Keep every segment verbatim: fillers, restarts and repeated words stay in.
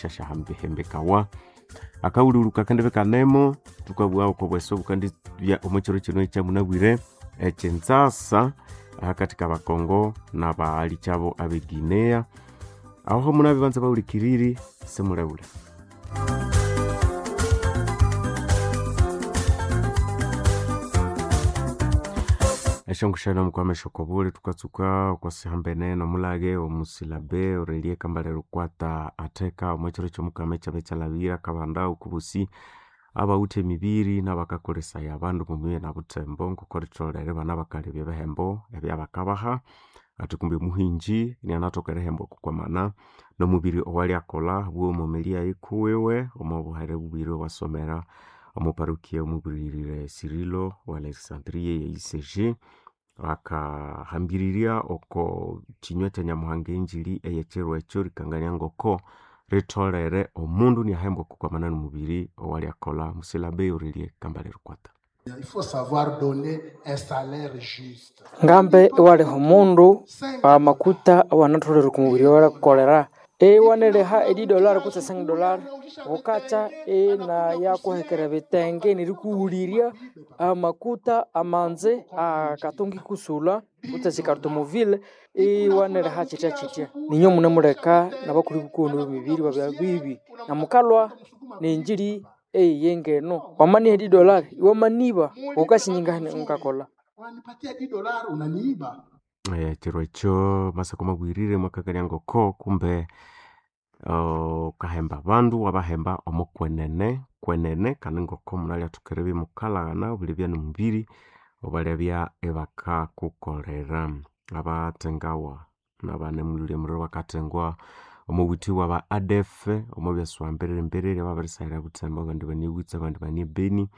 shashahambihembekawa akawululuka kandi bekanemo tukabugha oko bweso bukandi bya omwekiro kino ekyamunabwire ekyenzasa ahakati kabakongo nabaali kyabo abeguinea aho munabi banza bawulikiriri simulewule. Eshongoshana mukwamesha okobule tukatsuka okwasihambene nomulage omusilabe Aurelie Kambale Lukwata atheka omwekiro kyomukama ekyabe kyalabira kabanda okubusi abawithe emibiri nabakakolesaya abandu mumibiri nabuthembo ngoko ritholere bana bakalebya ebihembo ebyabakabaha athi kumbe omuhinji inianathoka erihemba okukwamana nomubiri owalyakolha bwomomeli yayi kuwiwe omo buhere bubiri obwasomera omo parokia omubirire Cirilo wa Alexandria ye I C G akahambiriria oko kinywa kya Nyamuhanga enjiri eyekyiro ekyo rikangania ngoko ritholere omundu iniahembwa okukwamana nomubiri owalyakolha. Musilabe Aurelie Kambale Lukwata. Il faut savoir donner un salaire juste. Ngambe iwaliha omundu amakuta awanatholere okumubiri owalyakolera iwaneriha edidolari kutse cinq dolari ghukatya inayakuhekera ebitenge nerikughulirya amakuta amanzi akatunga ikusulha kutse esikarutomobile iwaneriha kyitya kyitya. Ninyo munemuleka nabakulhu bikoni bemibiri babya bibi namukalhwa nenjiri eyiyengeno wamaniha edidolari iwamaniba ghukasinyingahene ngakolha. Unanipatia dix dollars unaniiba. Ekiro ekyo masako mabwirire mwakakania ngoko kumbe ukahemba abandu wabahemba omo kwenene kwenene kandi ngoko munalyathokera eribya imukalhaghana obulibya nomubiri obalyabya ibakakukolera. Abathengawa nabanemulhulya omuliro bakathengwa omo bwithi bwaba A D F omo byasuba mbiriri mbiriri ababirisahira Buthembo abandi bane Butsa abandi bane Beni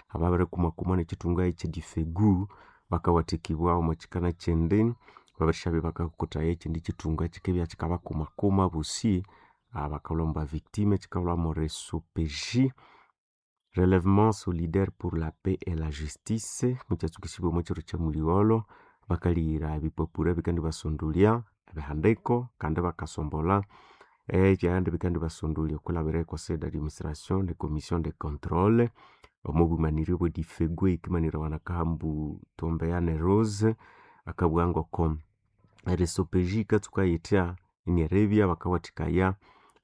ababirikumakumwa nekyithunga ekyedifegu bakawathikibwa omo kyikana kyindi babirishabya bakakutaya ekyindi kyithunga kyikibya kyikabakumakuma bosi bakalhwa mwa victime kyikalhwa mo R S O P J Relèvement solidaire pour la paix et la justice mukyatsukisibwa omo kyiro kyamuligholho bakalihira ebipapura ebikandibasondolya ebihandiko kandi bakasombolha ebyandi bikandibasondolya okwilhabira conseil d'administration ne commission de contrôle omo bwimanirye obwe difegu eyikimanirawa nakahambu Tombeyane Rose akabugha ngoko R S O P J yikatsuka yithya inieribya bakawathikaya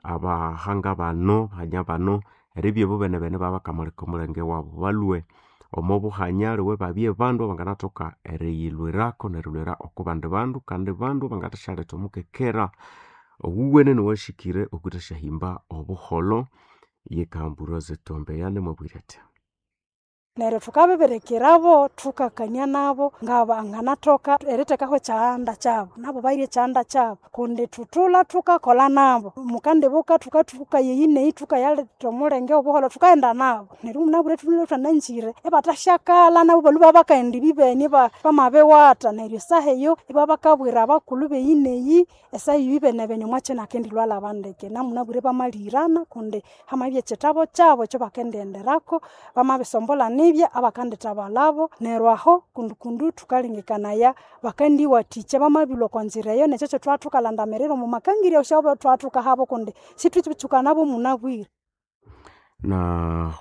abahanga bano bahanya bano eribya ibo benebene babakamuleka omulenge wabu balhwe omo buhanya liwe babye bandu abanganathoka eriyilhwirako nerilhwira oko bandi bandu kandi bandu abangathasyalhetha omukekera owuwene nowashikire okwithasyahimba obuholho. Yekahamba Rose Tombeyane mwabwire athi neryo thukabibirikirabo thukakania nabo ngabanganathoka erithekaho ekyahanda kyabo nabo bairye ekyahanda kyabo kundi thuthulha thukakolha nabo mukandibuka thukathuka yeyi neyi thukayaletha omulenge obuholho thukaghenda nabo neryo munabwire thulhwe thwananzire ibathasyakala nabo balhwe babakaghenda ibibeni bamabiwatha neryo esaha eyo ibabakabwira abakulhu beyi neyi esaha eyo ibenebene omwakyi nakendilhwalha ndeke namunabwire bamalihirana kundi hamabya ekyithabo kyabo ekyabakendighenderako bamabisombolha nibya abakandithabalhabo neryo aho kundukundu thukalengekanaya bakandiwathikya bamabilhwa okwanzira eyo nekyo kyethwathukalandamirira omu makangirya syabo thwathukahabo kundi sithwitsuka nabo munabwire. Na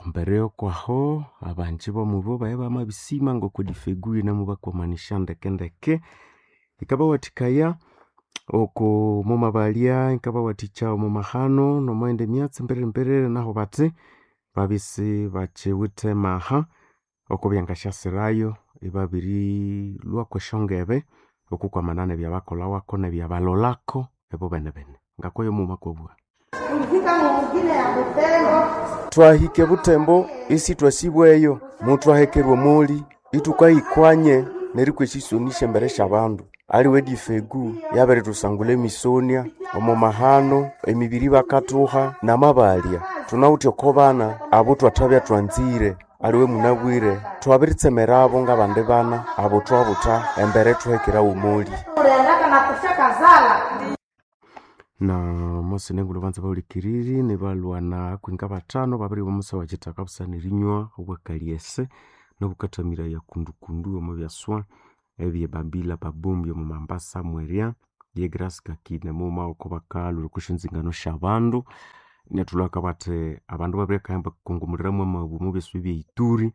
embere yokwaho abanji bomubo baye bamabisima ngoko difegu yinamubakwamanisya ndekendeke yikabawathikaya oko mumabalya yikabawathikya omu mahano nomwayindi myatsi mbiriri mbiriri naho bathi babisi bakyiwithe maha oko byangasyasirayo ibabirilhwa kwesyongebe okukwamana nebyabakolhawako nebyabalholako ebo benebene ngakoyo mughuma kwabugha. Twahika ebuthembo isi twasibweyo mutwahekerwa omuli ithukahikwanye nerikwa esisoni syembere syabandu aliwe difegu yabirithusangulha emisonia omo mahano emibiri bakathuha namabalya thunawithe oko bana abo thwathabya thwanzire aliwe munabwire thwabiritsemerabo ngabandi bana abo thwabutha embere thuhekerawo omuli. Na Mose nengulhu banza bahulikiriri nibalwana akwinga bathano babiri bomusa wakyithaka busana erinywa obwakalyese nobukathamiraya kundukundu omo byaswa ebye Babila Babombi omo Mambasa mwerya Ye Grace Kakine mughuma oko bakalhwira oko syonzingano syabandu inyathulhaka bathi abandu babirikahamba kungumuliramu amabu omu byasi bye Ituri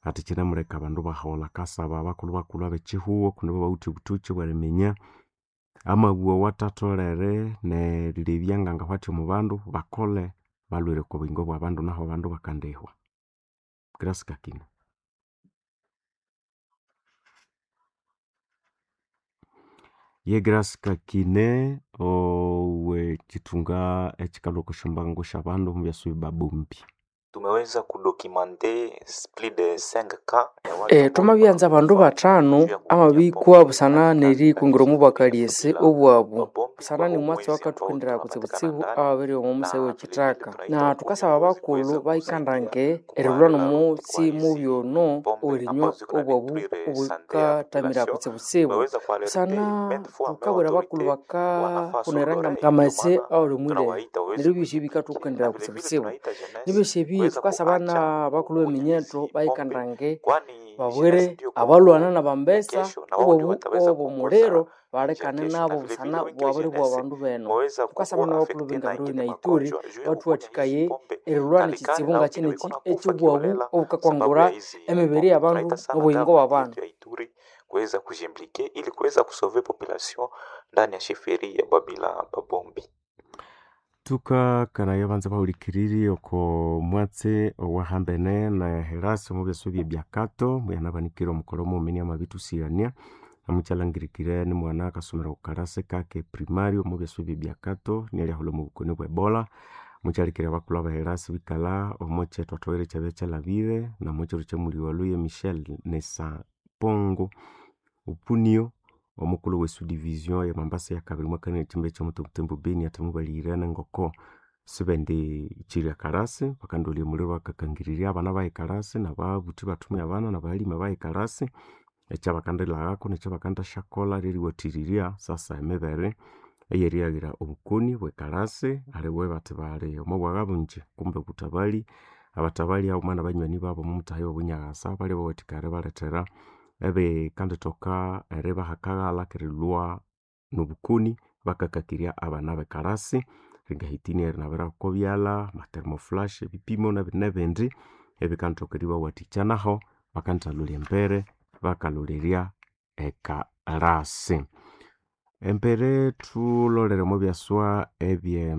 ati kyinemuleka abandu baholha. Akasaba abakulhu bakulhu abekyihugho kundi ibo bawithe obuthoki obweriminya amabu awathatholere nerilebya ngangahwathi omu bandu bakole balhwire oko buyingo bwabandu nahu abandu bakandihwa. Grace Kakine. Ye Grace Kakine owekyithunga ekyikalhwa oko syambango syabandu omu byasi babombi. Tumeweza kudocumenter plus de cinq cas ya watu E, twamabyanza abandu bathanu amabikwa busana nerikungira omu bwakalyesi obwabu busana nimwatsi wakathukenderaya kutsibutsibu ababiri omo musai wekithaka na thukasaba abakulhu bayikandange erilhwa nomutsi mubi ono owerinywa obwabu obukathamira kutsibutsibu busana thukabwira abakulhu bakaghunera ngamaghetse awali omwilere neryo ebyosi bikathukenderaya kutsibutsibu nibyosi ebi thukasaba nabakulhu b'eminyeto bayikandange babwire abalwana nabambesa obwabu obw'omuliro balekane nabo busana bwabiribwa abandu beno thukasaba nabakulhu b'engabiro na Ituri bathuwathikaye erilhwana ekitsibu ngakiniki eky'obwabu obukakwangura emibiri y'abandu n'obuyingo bw'abandu. Kuweza kujimplike ili kuweza kusauver population ndani ya sheferi ya Babila Babombi. Thukakanaya abanza bahulikiriri oko mwatsi owahambene na Herasi omu byasi bye Byakato muyanabanikire omukolho mughuma inamabithusighania namukyalhangirikire nimwana akasomera oko kalasi kake primary omu byasi bye Byakato nialyahulha omu bukoni bwe Ebola mukyalikire abakulhu aba Herasi bikalha omo kyetwathoghera ekyabya kyalhabire namukyiro kyamuliwalhu ye Michel Nesa Pongo Opunio omukulhu we subdivision ye Mombasa yakabiri mwakania ekyimbe kyomuthumuthimbu Beni athi mubalihirene ngoko sibendi kyirya kalasi bakandolya omuliro bakakangirirya abana bayi kalasi nababuthi bathumire abana nabahalime bayi kalasi ekyabakandilhaghako nekyabakandasyakolha lyeriwathirirya sasa emibere eyeriaghira obukoni bwekalasi aliwe bathi bali omo bwagha bungi kumbe obuthabali abathabali haghuma nabanywani babu omumutahaya obunyaghasa balya bawathikaya eribalethera ebikandithoka eribaha akaghalha kerilhwa nobukoni bakakakirya abana bekalasi ringahitini erinabira okobyalha ama thermoflash ebipimo nebindi ebikandithoka eribawathikya naho bakandithalholya embere bakalholерya ekalasi. Embere thulolere omo byaswa ebye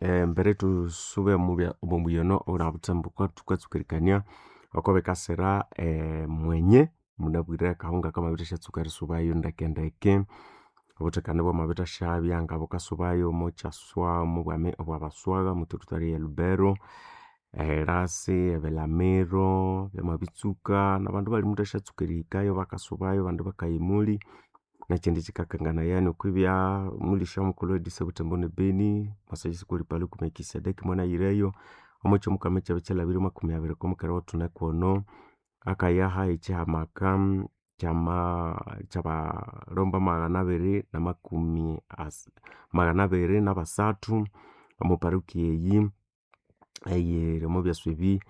embere thusube omo muyono owuli Butembo thukatsuka erikania oko bikasira emwenye munabwire akahunga kamabithasyatsuka erisubayo ndekendeke obuthekane bwamabithasyabya ngabukasubayo omo kyaswa omobwami obwabaswagha omo territory ye Lubero eHerasi ebilamiro byamabitsuka nabandu bali muthasyatsuka erihikayo bakasubayo abandi bakaya emuli nekyindi kyikakanganaya okwibya mulisya mukulhu e D C Butembo ne Beni Masayisi Paluku Melkisedeki mwanayireyo omo kyomukama ekyabya kyalhabire makumi abiri okwamukera wathune kwono akayaha ekyihamaka kyama kyabalomba maghana abiri namakumi asa maghana abiri nabasathu omo parokia eyi eyiri omo byasi ebi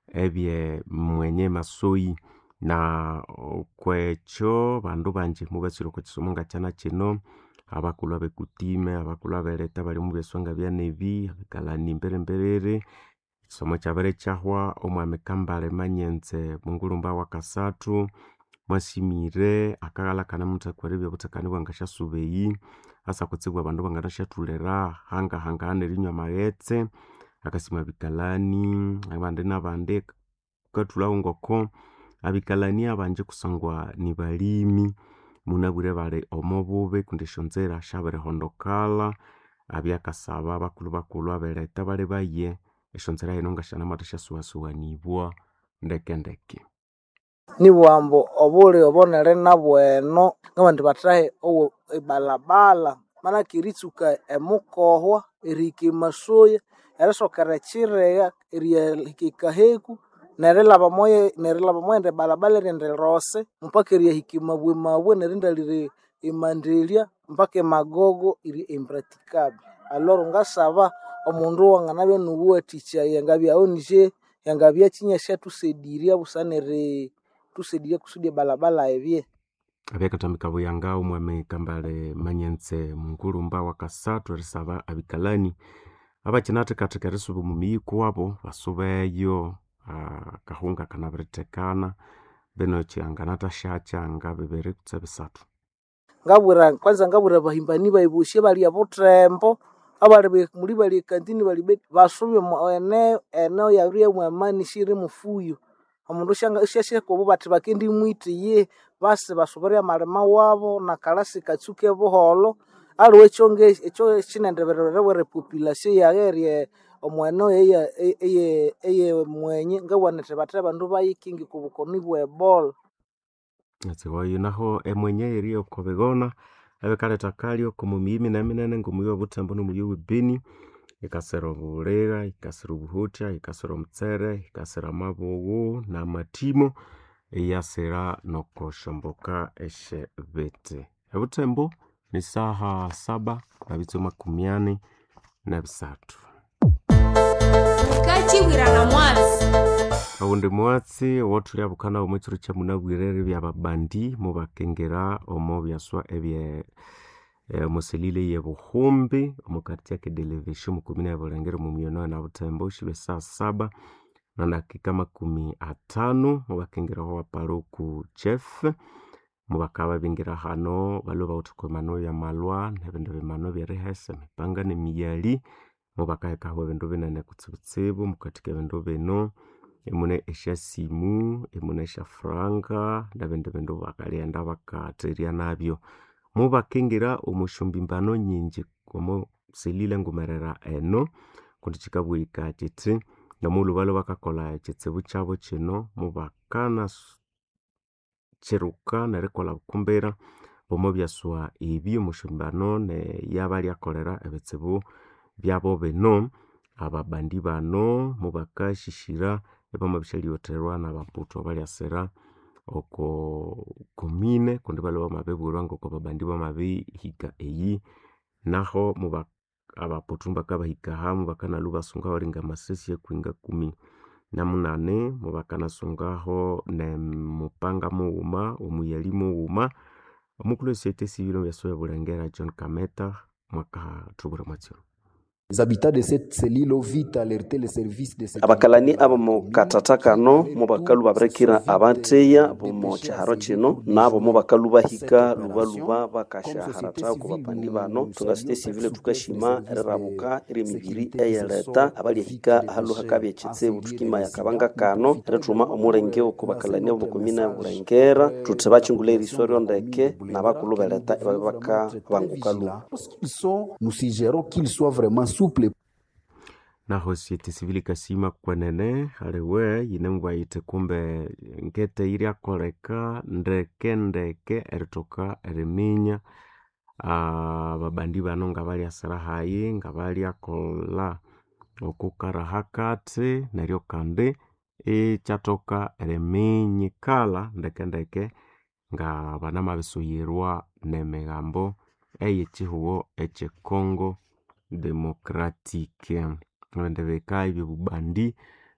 ebye Mwenye Masoyi na okwekyo bandu bangi mubatsire oko kisomo ngakyana kino abakulhu abekutime abakulhu abeleta abali omu byaswa ngabyanebi abikalani emberemberere ekisomo kyabere kyahwa omwami Kambale Manyenze Mungulumba wakasathu mwasimire akaghalha kanamuthakwa eribya obuthekane bwangasyasuba eyi asa kutsibu abandu banganasyathulira hangahangahana erinywa amaghetse akasima abikalani abandi nabandi wukathulhawo ngoko abikalani abangi kusangwa nibalimi munabwire bali omo bubi kundi esyonzira syabirihondokalha abya akasaba abakulhu bakulhu abeletha balibaye esyonzira hino ngasyanamathasyasuwasuwanibwa ndekendeke. Nibughambu obuli obonere nabweno ngabandi bathahe owo ebalabala manake eritsuka emukohwa erihika emasoya erisokera ekyiriya eriyahika ekaheku nerilhaba omoye nerilhaba omoyindi balabala erindi rose mpaka eriyahika emabwemabwe nerindalira emandelya mpaka emagogo iri impracticable. Aloro ngasaba omundu wanganabya nubuwathikya yangabya O N G yangabya kyinyasyathusaidirya busana eri thusaidya kusudi ebalabala ebye. Abyakathambika buyanga omwami Kambale Manyenze Mungulumba wakasathu erisaba abikalani abakyinathekatheka erisuba omu miyi kuwabo basubeyo akahunga kanabirithekana bino kyanganathasyakyanga nga bibiri kutse bisathu. Ngabwira kwanza ngabwira abahimbani bayi bosi abali obuthembo abali muli bali ekantini bali basube eneo eneo yabiribya mwamani siyiri mufuyo. Omundu syasyahika obo bathi bakendimwitha iyihi basi basubire amalima wabo nakalasi katsuke buholho. Aliwe ekyo kyinendibirira epopulation yayi eri omw'eneo eye mwenye ngabugha nithi bathe abandu bayikinge okwa bukoni bwe Ebola. Etsiwayo naho emwenye eri oko bigona ebikaletha akalyo omo miyi minene-minene ngomuyi obuthembo nomuyi owe Beni yikasira obuligha, yikasira obuhotya, yikasira omutsere, yikasira amabughu namathimo, iyasira nokosyomboka esyebithi. Ebuthembo ni saha saba nabitsu makumi ani nebisathu. Mukakibwirana mwatsi. Owundi mwatsi owothulyabuka nawu omwa kiro kyamunabwire ribya ababandi mubakingira omo byaswa ebye omo selile eyebuhumbi omo quartier kedelevesio omo komine ya Bulengere omo muyi ono nabuthembo syibya saha saba nadakika makumi athanu mubakingira aho paluku chef mubakabya babingira hano balhwe bawithe okwa bimanu ebyamalhwa nebindi bimanu ebyerihesa emipanga nemiyali mubakahekaho ebindu binene kutsibutsibu mukathika ebindu bino imune esyasimu, imune esyafuranga nebindi bindu bakalyaghenda bakatherya nabyo. Mubakingira omo syombimbano nyingi omo selile ngumerera eno kundi kyikabugha kyithi nomughulhu balhwe bakakolha ekyitsibu kyabu kyino mubakana kyiruka nerikolha bukumbira omo byaswa ebi omo syambano neyabalyakolera ebitsibu byabu bino. Ababandi bano mubakasyisyira ibamabisyalyighotherwa nabaputhu abalyasira oko komine kundi balhwe bamabibwirwa ngoko ababandi bamabihika eyi naho muba abaputhu mubakabahika mubakanalhwa ibasungaho awalinga amasasi akwinga kumi namunani mubakanasungaho nemupanga mughuma omuyali mughuma. Omukulhu we society civil omwa Bulengera John Kameta mwakathubwira omwatsi ono. Abakalani abomu kathatha kano mubakalhu babirikira abatheya bomo kyiharo kino nabo mubakalhu bahika lubaluba bakasyaharatha oko bapandi bano. Ithwe nga society civil thukasima erirabuka eryemibiri eyeleta abalyahika ahalhu hakabya ekyitsibu. Thukimaya akabanga kano erithuma omulenge oko bakalani abomu komine ya Bulengera thuthi bakyingulha eriso ryondeke nabakulhu beleta ibabya bakabanguka lhuba. Naho society civil yikasima kwenene haliwe yinemubugha yithi kumbe ngete yiryakoleka ndeke ndeke erithoka eriminya ababandi bano ngabalyasira hayi ngabalyakolha okukara hakathi neryo kandi ikyathoka eriminyikala ndeke ndeke ngabanamabisuyirwa nemigambo eyekyihugho ekye Congo Democratic. Ebindi bika ebyobubandi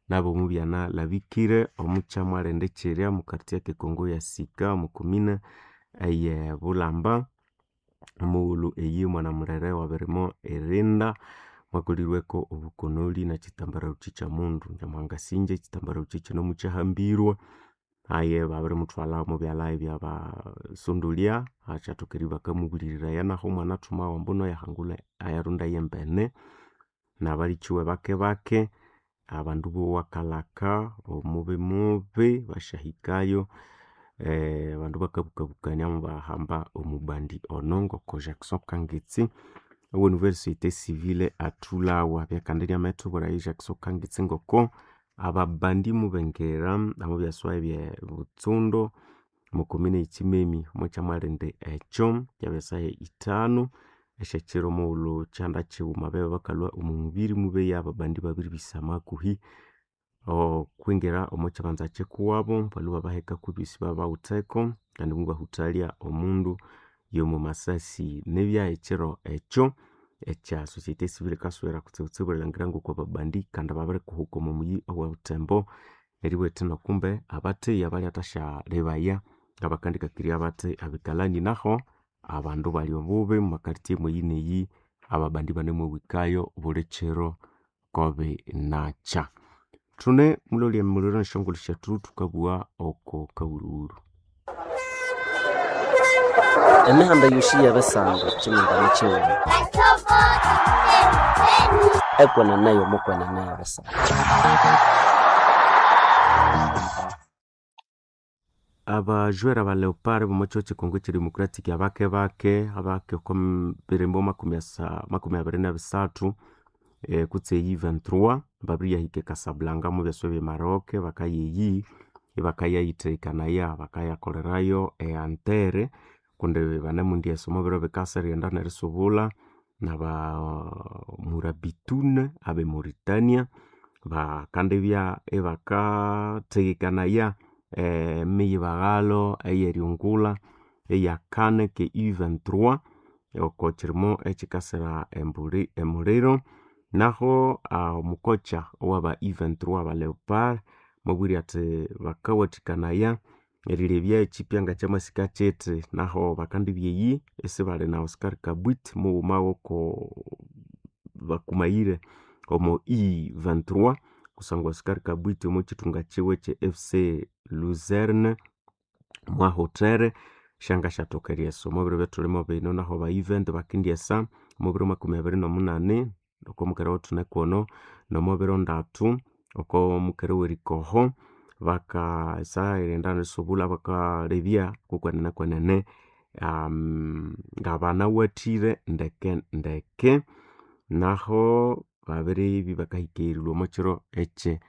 nabo mubyanalhabikire omukyamwalindi kyirya omu quartier kekongo yasika omu komine eye Bulamba. Omughulhu eyi omwana mulere wabirimo erinda mwakolirweko obukonoli nekyitambaraluki kyomundu Nyamuhanga asingye ekyitambaraluki kino mukyahambirwe aye babirimuthwalha omo byalha ebyabasondolya akyathoka eribya bakamubulhiriraya naho omwanathumawa ambu ayahangulha ayarunda yembene nabalikiwe bake bake abandu bowa kalaka omubi mubi basyahikayo abandu bakabukabukania mubahamba omubandi ono ngoko Jackson Kangitsi owe nouvelle société civile athulhawa byakandi inyamayithubwira Jackson Kangitsi ngoko ababandi mubengera omubyaswa ebye butsundo omukomine eyikyimemi omwakyamwalindi ekyo kyabesaha ithanu esyakyiro omughulhu kyihanda kyighuma babya bakalhwa omo mubiri mubeya ababandi babiribisama hakuhi okwingira omo kyibanza kyikuwabo balhwe babahekaku ebyosi babawitheko kandi mubahuthalya omundu yomo masasi. Nibya ekyiro ekyo ekya society civil yikasubira kutsibutsibu erilhangira ngoko ababandi kandi babirikuhuka omo muyi owe Buthembo neribugha ithi nokumbe abatheya balyathasya lebaya Ngabakandikakirya bathi abikalani naho abandu bali obubi mumakartie mweyi neyi ababandi banemwahikayo buli kiro kobi nakya. Thune mulolya emuliro nesyongulho syethu thukabugha oko kawulhuwulhu. Emihanda yosi y'ebisando kyimindani kyighuma ekwenene y'omukwenene y'ebisando. Abajwera ba Leopard b'omo kyihugho ky'ekongo ky'edemocratic abake bake abake oko birimbo makumi asa makumi abiri n'ebisathu eh, kutse eyi vingt-trois babiriyahika e Casablanca mu byaswa ebye Maroc bakayeyi ibakayayithekanaya bakayakolerayo eantere kundi banemwendyesa omo biro bikasa erighenda nerisubula naba Murabitune abe Mauritania bakandibya ibakathekekanaya emiyibaghalo eyeriungulha eyakane ke U vingt-trois oko kirimo ekikasira embuli emuliro. Naho omukocha owaba U vingt-trois aba Leopard mwabwire athi bakawathikanaya erilebya ekyipya ngakyamasika kyithi naho bakandibya eyi isibali na Oscar Kabwit mughuma woko bakumayire omo U vingt-trois kusangwa Oscar Kabwit omo kyithunga kyiwe kye F C Luzerne mwahotere syangasyathoka eryesa omo biro ebyathulimo bino naho ba U vingt bakendyesa omo biro makumi abiri n'omunani oko mukere wathune kwono nomo biro ndatu oko mukere werikoho bakasa erighenda nerisubulha bakalebya kukwenene kwenene um, ngabanawathire ndeke ndeke naho babiribya bakahika erilhwa omo kiro ekye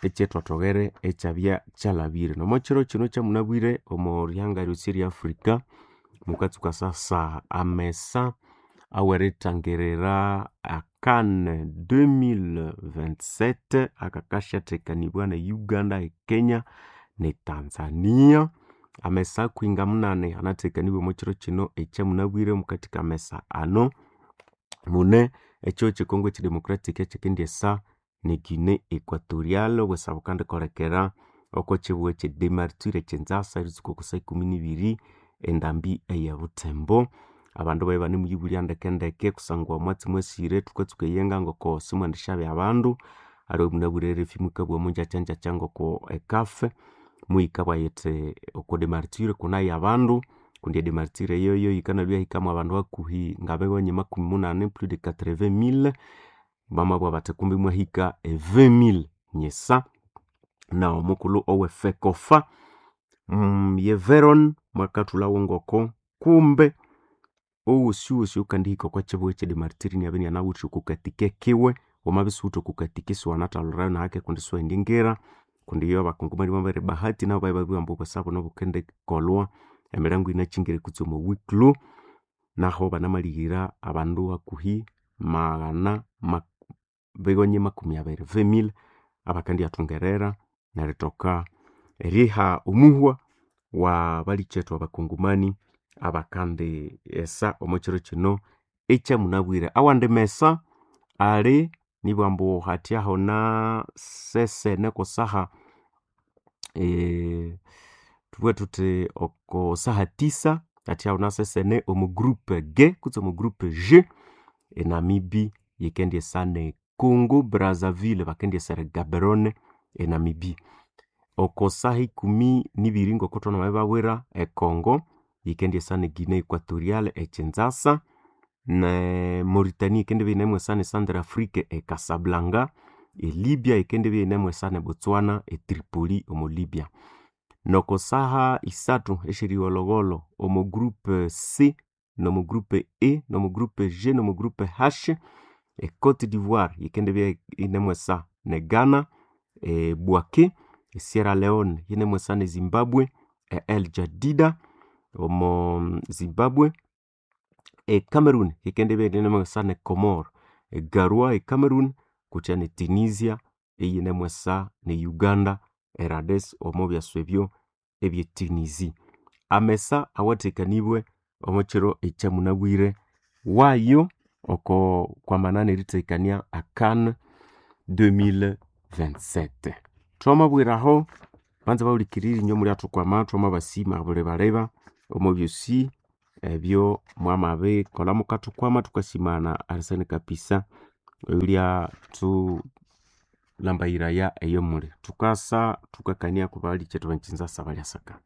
ekyethothoghere ekyabya kyalhabire. Nomo kiro kino kyamunabwire omo rihanga ryosi erya Africa mukatsuka sasa amesa aweritangirira a CAN deux mille vingt-sept akakasyathekanibwa ne Uganda, e Kenya ne Tanzania. Amesa akwinga munani anathekanibwe omo kiro kino ekyamunabwire mukathi kamesa ano mune ekyihugho kye Congo ekyedemocratic ekyikendyesa ne Guinea Equatorial obwesa bukandikolekera oko kibugho ekye Demartyr ekyinzasa eritsuka oko saa ikumi nibiri endambi eye Butembo. Abandu babya ibanemuyibulya ndekendeke kusangwa omwatsi mwasire thukatsuka eyenga ngoko simwendisyabya abandu aliwe munabwire R F I mukabugha munjakyanjakya ngoko e CAF muyikabugha yithi oko Demartyr kunayo abandu kundi e Demartyr eyoyo yikanalwa yahikamu abandu hakuhi ngabewanya makumi munani plus de quatre-vingt mille bamabugha bathi kumbi imwahika e vingt mille nyisa. Na omukulhu owe FECOFA mm, ye Veron mwakathulhawo ngoko kumbe owosiwosi oyukandihika okwa kibugho ekye Demartyr inabya inanawithe oko katike kiwe wamabya isiwuwithe oko katike isiwanathalhirayo nahake kundi isiwendingira kundi iyo abakongomani bamabere bahati nabo babya babiribugha ambu obwesa buno bukendikolhwa emirango yinakyingire kutse omo wiklu naho banamalihira abandu hakuhi maghana mak bighonye makumi abiri vingt mille abakandyathungerera nerithoka eriha omuhwa wa balikyethu abakongomani abakandi esa omo kiro kino ekyamunabwire. Awandi mesa ali nibugha ambu hathyaho na sesene kusaha eh, thubughe thuthi oko saha tisa hathyaho na sesene omu groupe G kutse omu groupe G e Namibi yikendyesa ne Congo Brazzaville bakendyesera Gaborone e Namibi. Oko saha ikumi nibiri ngoko thwanamabibabwira e Congo yikendyesa ne Guinea Equatorial e Kinshasa ne Mauritania yikendibya yinemwesa ne Centrafrique e Casablanca e Libya yikendibya yinemwesa ne Botswana e Tripoli omo Libya. Noko saha isathu esyerigholhogholho omo groupe C nomo groupe E nomo groupe G nomo groupe H e Cote d'Ivoire yikendibya yinemwesa ne Ghana e Bouaké e Sierra Leone yinemwesa ne Zimbabwe e El Jadida omo Zimbabwe e Cameroon yikendibya yinemwesa ne Comore e Garoua e Cameroon kutya ne Tunisia eyinemwesa ne Uganda e Rades omo byaswa ebyo ebye Tunisie. Amesa awathekanibwe omo kiro ekyamunabwire wayo oko kwamana nerithekania a CAN deux mille vingt-sept. Thwamabwiraho Banza bawulikiriri inyo mulyathukwama twamabasima buli baleba omo byosi ebyo mwamabikolha mukathukwama thukasimana arisani kapisa oyulya thulambayiraya eyo muli. Thukasa thukakania kubalikyetu benkyinzasa balyasaka.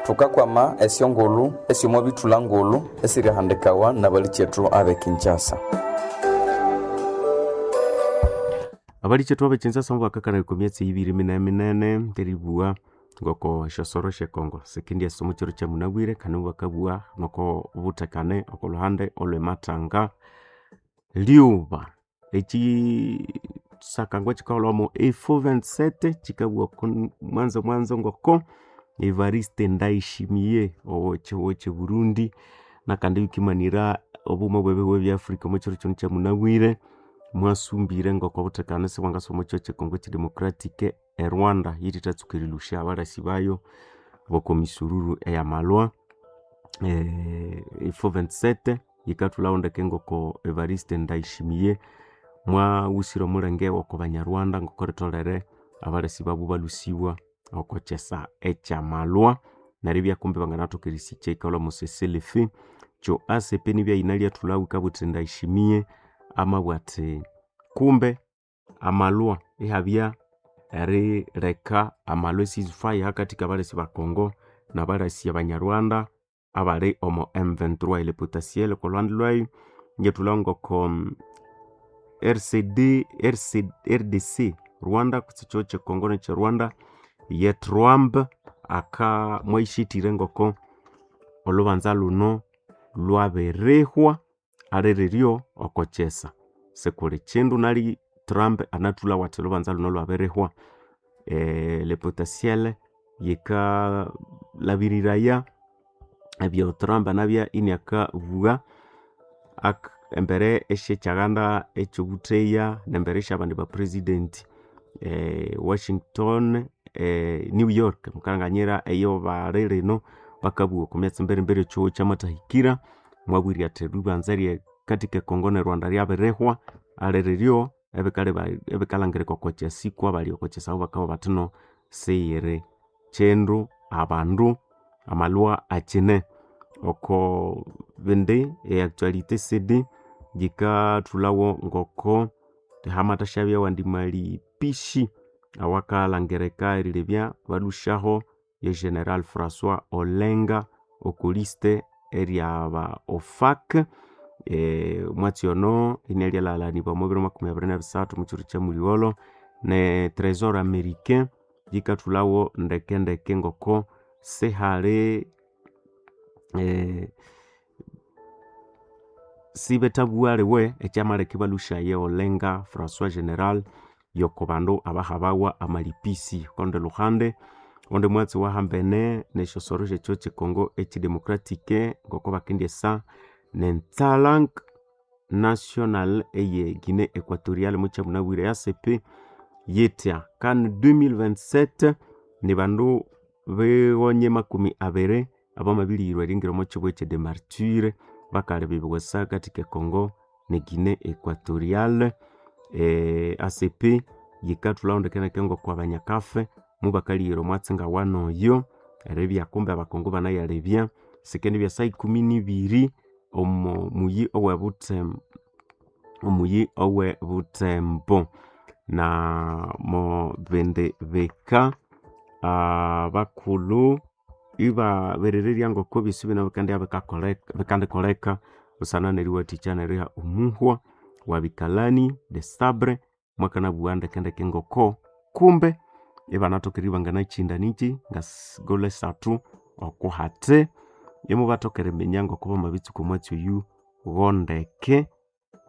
Thukakwama esyongulhu esyomwabithulha ngulhu esirihandikawa nabalikyetu abe Kinshasa. Abalikyetu abe Kinshasa mubakakana emyatsi ibiri minene minene ngeribugha ngoko esyosoro syekongo sikendyasa omo kyiro kyamunabwire kandi mubakabugha noko buthekane oko lhuhande olhwemathanga. Lyuba ekyisakangwa kyikaholhawa omo F vinte-sept kyikabugha oko mwanzo mwanzo ngoko Evariste Ndayishimiye owekyihugho kye Burundi nakandi yukimanira obughuma bw'ebihugo ebya Africa omo kyiro kino kyamunabwire mwasumbire ngoko obuthekane sibwangasa omo kyihugho kye Congo ky'edemocratic e Rwanda yithethatsuka erilhusya abalasi bayo b'oko misururu eyamalwa. F vinte-sept yikathulhawo ndeke ngoko Evariste Ndayishimiye mwaghusire omulenge w'oko banyarwanda ngoko ritholere abalasi babu balhusibwa oko kyesa ekyamalwa neryo ibya kumbi banganathoka erisikya eyikalhwa omo C C L F kyo A C P nibya yinalyathulhawo yikabugha yithi Ndayishimiye amabugha athi kumbe amalwa ihabya erileka amalwa e-ceasefire hakathi kabalasi ba Congo nabalasi abanyarwanda abali omo M vingt-trois le potentiel oko lhuhande lwayo inyathulhawo ngoko R C D R D C Rwanda kutse ekihugho kye Congo nekye Rwanda ye Trump aka mwayishithire ngoko olhubanza lhuno lwabirihwa aliriryo oko kyesa sikuli kyindu nali Trump anathulhawo athi olhubanza lhuno lwabirihwa. Le potentiel yikalhabiriraya ebyo Trump anabya iniakabugha embere esyekyaganda ekyobutheya nembere esyabandi ba president Washington New York mukalhanganyira eyo bali lino bakabugha oko myatsi mbere mbere ekyihugho kyamathahikira mwabwire athi eribanza ryakathi ke Congo ne Rwanda ryabirihwa aliriryo ebikalhangirika oko kyasi kwabali oko kyasi abo bakabugha bathi no siyiri kyindu abandu amalwa akyine. Oko bindi e actualité C D yikathulhawo ngoko hamathashabya awandi malipishi awakalhangirika erilebya balhusyaho ye General François Olenga oko liste eryaba O F A C. Omwatsi ono inalyalhalanibwa omo biro makumi abiri nebisathu omukyiro kyamuligholho ne Trésor américain yikathulhawo ndeke ndeke ngoko sihali sibethabugha aliwe ekyamaleka ibalhusyaye Olenga François General yoko bandu abahabawa amalipisi. Okorundi lhuhande ondi mwatsi wahambene nesyosoro syekyihugho kye Congo ekyidemocratic ngoko bakendyesa nentsalang national eye Guinée Equatorial mukyamunabwire A C P yithya CAN deux mille vingt-sept nibandu bighonye makumi abiri abamabilighirwa eringira omo kyihugho ekye Demartyre bakalebya hakathi ke Congo ne Guinée Equatorial. A C P yikathulhawo ndeke ngoko abanyakafe mubakalighira omwatsi ngawanoyo eribya kumbe abakongo banayalebya sikendibya saa ikumi nibiri omo muyi owe Butembo omuyi owe Butembo na mo bindi bika abakulhu ibabirirerya ngoko ebyosi bino bikandikoleka busana neriwathikya neriha omuhwa wa bikalani de sabre mwakanabugha ndeke ndeke ngoko kumbe ibanathoka eribya banganakyinda nikyi ngasigolho esathu okuhathi imubathoka eriminya ngoko bamabitsuka omwatsi oyu ghondeke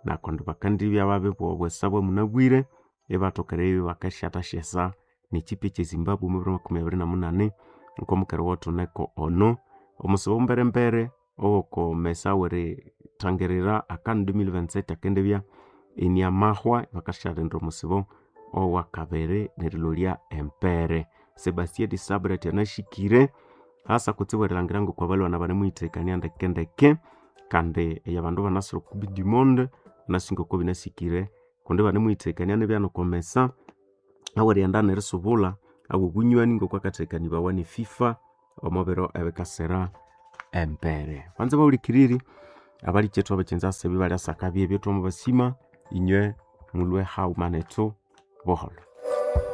nakundi bakandibya babibugha obwesa bwamunabwire ibathoka eribya bakasyathasya nekipi ekye Zimbabwe omo biro makumi abiri namunani okwamukere wothuneko ono. Omusibo mberembere owokomesa werithangirira a CAN deux mille vingt-sept akendibya iniamahwa bakasyalindira omusibo owakabiri nerilolya empere. Sebastien Desabre athi anashikire hasa kutsibu erilhangira ngoko abalwana banemuyitheghekania ndeke ndeke kandi eyabandu banasire oku coupe du monde banasi ngoko binasikire kundi banemuyitheghekania nibya nokomesa. Awerighenda nerisubula awobunywani ngokwakathekanibawa ne FIFA omo biro ebikasira embere. Banza bahulikiriri abalikethu abakyenzase ebi balyasaka byebyo twamabasima inywe mulwe haghuma nethu buholho.